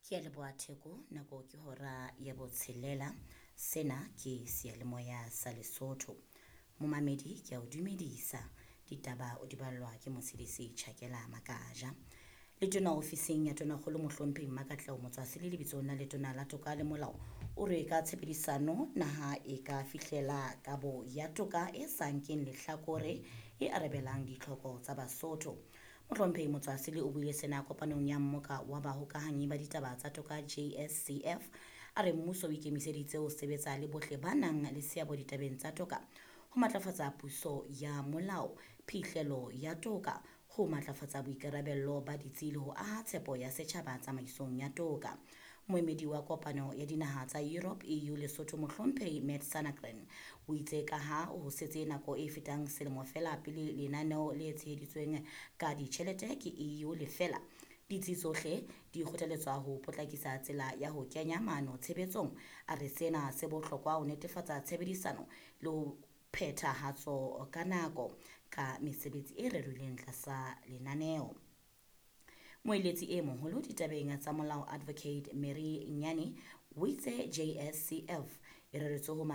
Ke a leboha Theko, nako ke hora ya botshelela. Sena ke seyalemoya sa Lesotho. Momamedi ke a o dumedisa. Ditaba o di ballwa ke Motshedisi Tjhakela Makaja. Letona ofising ya Tonakgolo Mohlomphehi Mmakatleho Motswasele lebitsong la Letona la Toka le Molao o re ka tshebedisano naha e ka fihlela kabo ya toka e sa nkeng lehlakore e arabelang ditlhoko tsa Basotho. Mohlomphehi Motswasele o buile sena kopanong ya mmoka wa bahokahanyi ba ditaba tsa toka JSCF. A re mmuso o ikemiseditse ho sebetsa le bohle ba nang le seabo ditabeng tsa toka ho matlafatsa puso ya molao, phihlelo ya toka, ho matlafatsa boikarabello ba ditsi le ho aha tshepo ya setjhaba tsamaisong ya toka. Moemedi wa kopano ya dinaha tsa Europe EU Lesotho Mohlomphehi Matt Sanagren o itse ka ha ho setse nako e fetang selemo feela pele lenaneo le tsheheditsweng ka ditjhelete ke EU le fela, ditsi tsohle di kgothaletswa ho potlakisa tsela ya ho kenya maano tshebetsong. A re sena se bohlokwa ho netefatsa tshebedisano le ho phethahatso ka nako ka mesebetsi e rerilweng tlasa lenaneo. Moeletsi e moholo ditabeng tsa molao Advocate Mary Nyane o itse JSCF e reretswe ho matla